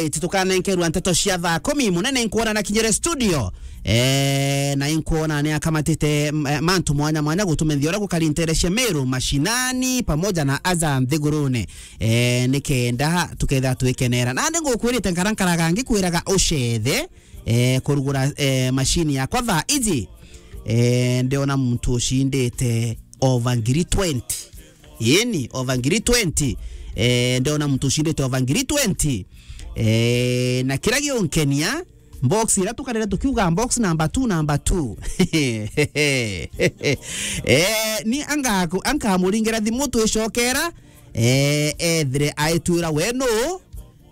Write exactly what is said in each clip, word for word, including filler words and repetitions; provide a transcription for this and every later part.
Iti tukanenkerwa nteto cia thaa kumi, munene nkwona na kinyere studio. Eh, na inkwona ni akamatite, m-, eh, mantu mwanya mwanya gutumithia uria gukari nteere cia Meru mashinani pamoja na aja nthigurune. Eh, nikenda tuketha twikenera. Nandi ngukwirite nkara nkaraga ngikwiraga ucethe, eh, kurugura, eh, mashini yakwa thaa iji. Eh, ndiona muntu ucindite over ngiri twenty. Ini, over ngiri twenty. Eh, ndiona muntu ucindite over ngiri twenty. Eh, na kira giunkenia, box ira tukarire tukiuga box number two, number two. Eh, ni angaku-, ankamuringira thimu twicokera, eh, ethire aitwira we nu,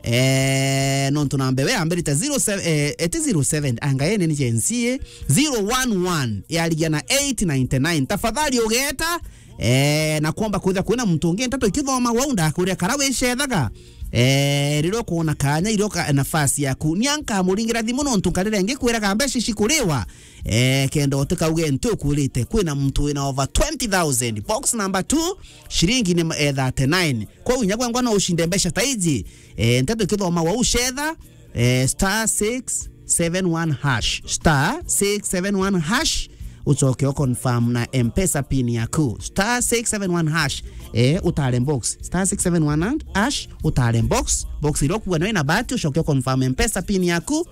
eh, nontu namba iwe yambirite zero seven, eh, eti zero seven, anga ene ni Gen Z, eh, zero one one, yarigia na eight ninety-nine. Tafadhali ugeta, eh, na kwomba kwithira kwina muntu ungi nteto ikithoma wau ndakuria kara wicethaga. Eh, riria ukwona kanya, iria uka-, nafasi yaku, ni ankamuringira thimu nontu nkarire ngikwiraga mbeca ici kuriwa. Eh, kenda utikauge nti ukwirite, kwina muntu wina over twenty thousand. Box number two, shiringi ni, eh, thirty-nine. Kwou inya gwengwa no ucinde mbeca ta iji. Eh, nteto ikithoma wau cetha, eh, star six seven one hash. Star six seven one hash. Ucoke u confirm na M-Pesa pin yaku. Star six seven one hash. Eh, utare box. Star six seven one hash, utare box. Box iria ukuona ina bahati, ucoke u confirm M-Pesa pin yaku.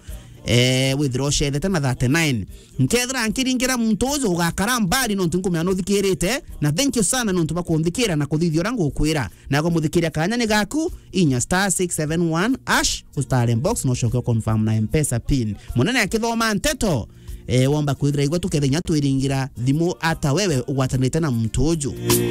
Eh, withira ucethete na thirty-nine. Nkethira nkiringira muntu uju ugakara mbali nontu nkumenya nuthikirite, na thank you sana nontu bwa kunthikira na kuthithia uria ngukwira. Nago muthikiria kanya ni gaku, inya star six seven one hash, ustare box na ucoke u confirm na M-Pesa pin. Munene akithoma nteto, eh, womba kwithira igwe tukethenya twiringira thimu ata wewe ugwatanite na muntu uju.